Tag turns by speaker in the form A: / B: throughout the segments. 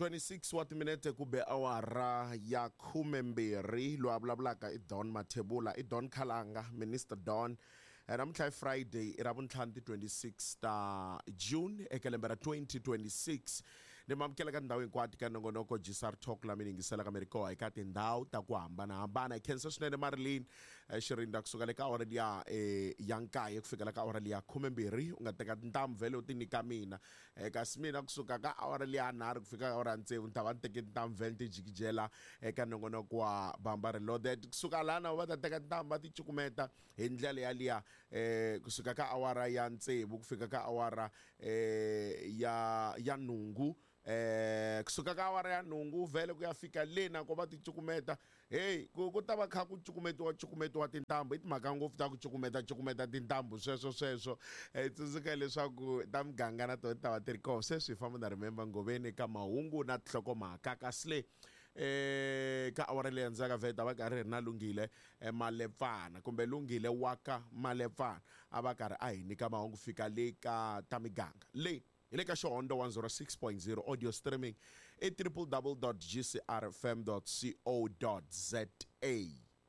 A: 26 wa timinete ku be awara ya 12. Loyi a vulavulaka i Don Mathebula, i Don Khalanga, Minister Don. Namuntlha i Friday, i Ravuntlhanu ti 26 ta June eka lembe ra 2026. Ni mi amukela ka tindhawu hinkwato ka nongonoko GCR Talk la mi yingiselaka mi ri kona eka tindhawu ta ku hambanahambana. Hi khensa swinene Marilyn Xirinda kusuka le ka awara liya ya nkaye ku fikela ka awara liya 12. U nga teka tintambu vhele u ti nyika mina. Kasi mina kusuka ka awara liya nharhu ku fika ka awara ya tsevu ni ta va ni teke tintambu vhele ni ti jikijela eka nongonoko wa Bamba Reloaded. Kusuka lana va ta teka tintambu va ti cukumeta hi ndlela yaliya kusuka ka awara ya tsevu ku fika ka awara ya nhungu. Kusuka ka awara ya nhungu vhele ku ya fika le na ko va ti cukumeta. Hey, ku ta va kha ku cukumetiwa cukumetiwa tintambu. I timhaka ngopfu ta ku cukumeta cukumeta tintambu sweswo sweswo. Tsundzuka leswaku ta muganga na tona ti ta va ti ri kona. Sweswi hi famba na Remember Ngoveni ka mahungu na tinhlokomhaka. Kasi le ka awara leyi handzaka vhele ta va karhi hi ri na Lunghile Malepfana kumbe Lunghile wa ka Malepfana a va karhi a hi nyika mahungu fika le ka ta miganga. Le hi le ka Xihondzo 106.0 audio streaming i www.gcrfm.co.za.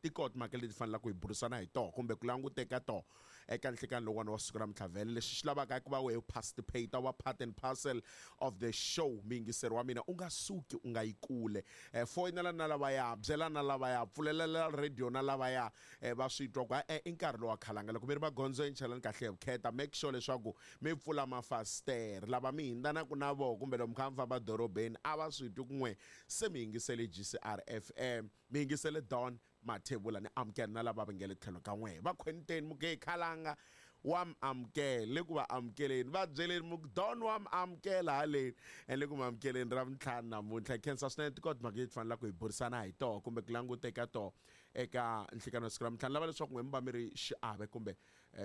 A: Ti kona timhaka leti fanelaka hi burisana hi toho kumbe ku languteka toho eka nhlikani lowuwani wa siku ra mintlhavelo. Lexi xi lavaka i ku va wehe u participate, wa part and parcel of the show. Muyingiseri wa mina, u nga suki, u nga yi kule. Foyinela na lavaya, byela na lavaya, pfulelela radio na lavaya, va swi twa ku e-e i nkarhi lowa khalanga. Loko mi ri magondzweni chelani kahle hi vukheta, make sure leswaku mi pfula mafasitere. Lava mi hindanaku na voho kumbe lomu kha mi famba dorobeni a va swi twi ku n'we se mi yingisele GCR FM, mi yingisele Don Mathebula. Ni amukela na lava va nge le tlhelo ka n'wehe va khwenteni, mu ku khalanga wa mi amukela, le ku va amukeleni, va byeleni mu ku Don wa mi amukela haleni, le ku mi amukeleni ra vuntlhanu namuntlha. Hi khensa swinene tikona timhaka leti fanelaka hi burisana hi toho kumbe ku languteka toho eka nhlikani wa siku ra mintlhanu. Lava leswaku n'we mi va mi ri xiave kumbe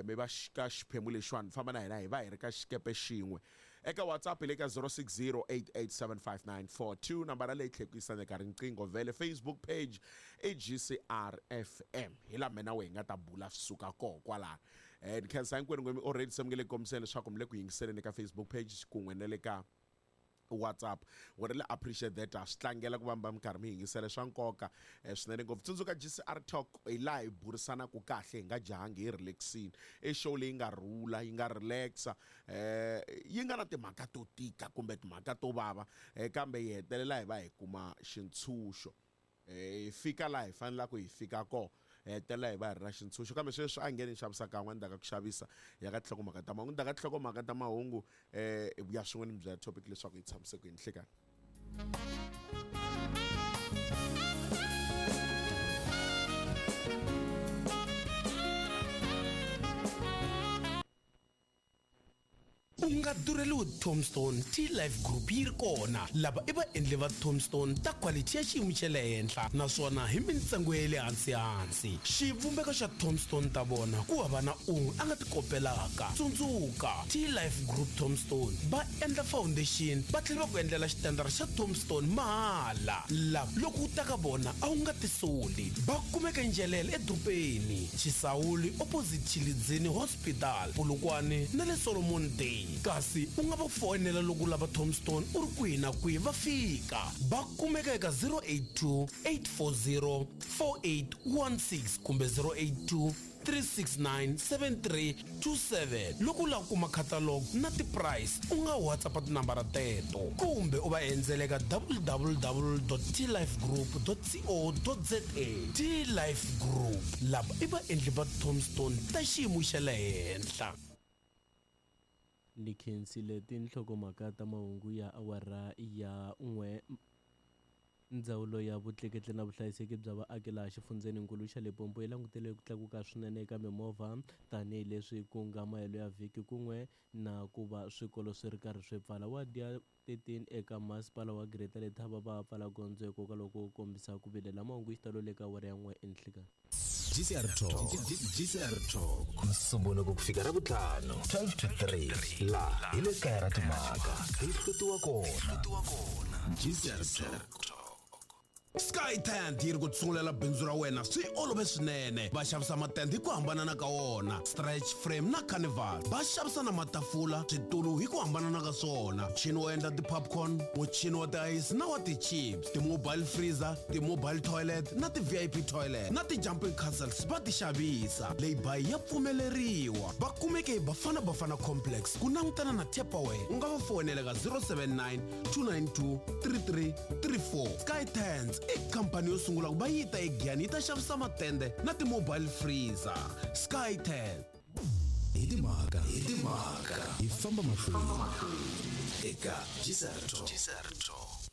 A: mi va ka xiphemu lexiwani, famba na hina hi va hi ri ka xikepe xin'we. Eka WhatsApp hi le ka 0608875942, nambara leyi tlhela ku yisana eka riqingho vhele. Facebook page i GCR FM, hi laha mina wehe hi nga ta bula swi suka koho kwalano. Ni khensa hinkwenu n'we mi already se mi nge le ku kombiseni leswaku mi le ku yingiseleni eka Facebook page kun'we na le ka WhatsApp. We really appreciate that. Ha swi tlangela ku va mi va mi karhi mi yingisela, swa nkoka swinene ngopfu. Tsundzuka GCR Talk hi laha hi burisanaka kahle, hi nga jahangi, hi relaxini. I show leyi nga rhula, yi nga relaxa, yi nga na timhaka to tika kumbe timhaka to vava, kambe hi hetelela hi va hi kuma xintshunxo. Hi fika laha hi fanelaka hi fika kona, hi hetelela hi va hi ri na xintshunxo. Kambe sweswi a hi nge ni xavisa kan'we endzhaku ka ku xavisa hi ya ka tinhlokomhaka ta mahungu. Ndzhaku ka tinhlokomhaka ta mahungu hi vuya swin'we ni mi byela topic leswaku yi tshamise ku yini. Hlekani.
B: U nga durheliwi Tombstone T-Life Group yi ri kona. Lava i vaendli va Tombstone ta quality ya xiyimo xa le henhla naswona hi mintsengo ya le hansi-hansi. Xivumbeko xa Tombstone ta vona ku hava na un'we a nga ti kopelaka. Tsundzuka, T-Life Group Tombstone va endla foundation va tlhela va ku endlela xitandara xa Tombstone mahala. Lava loko u ta ka vona a wu nga tisoli. Va kumeka eNjelele edorobeni, Xisawuli opposite Tshilidzini Hospital, Polokwane na le Solomon Day. Kasi u nga va foyinela loko u lava Tombstone u ri kwihi na kwihi va fika. Va kumeka eka 082 840 4816 kumbe 082 369 7327. Loko u lava ku kuma catalog na ti-price u nga WhatsApp tinambara teto kumbe u va endzela eka www.tlifegroup.co.za. T-Life Group, lava i vaendli va Tombstone ta xiyimo xa le henhla.
C: Ni khensile tinhlokomhaka ta mahungu ya awara ya n'we. Ndzawulo ya Vutleketli na Vuhlayiseki bya Vaaki laha xifundzheninkulu xa Limpopo yi langutele ku tlakuka swinene eka mimovha tanihileswi ku nga mahelo ya vhiki kun'we na ku va swikolo swi ri karhi swi pfala. Wadi ya 13 eka Masipala wa Greater Letaba va pfala gondzo hikokwalaho ko kombisa ku vilela. Mahungu hi xitalo le ka awara ya n'we enhlikani.
D: GCR Talk. GCR Talk. Nsumbhunuko ku fika Ravutlhanu 12 to 3 laha hi le kaya ra timhaka hi hlutiwa kona. GCR Talk.
B: Sky Tent yi ri ku sungulela bindzu ra wena swi olove swinene. Va xavisa matende hi ku hambanana ka wona, stretch frame na carnival. Va xavisa na matafula, switulu hi ku hambanana ka swona, muchini wo endla ti-popcorn, muchini wa tiayisi na wa ti-chips, ti-mobile freezer, ti-mobile toilet na ti-VIP toilet na ti-jumping castles va ti xavisa. Lay-by ya pfumeleriwa. Va kumeke hi Bafana Bafana Complex ku langutana na Tupperware. U nga va foyinela ka 079 292 3334. Sky Tents i khampani yo sungula ku va yi ta eGiyani yi ta xavisa matende na ti-mobile freezer. Sky Tent.
D: Hi timhaka, hi timhaka, hi famba mahlweni eka GCR Talk.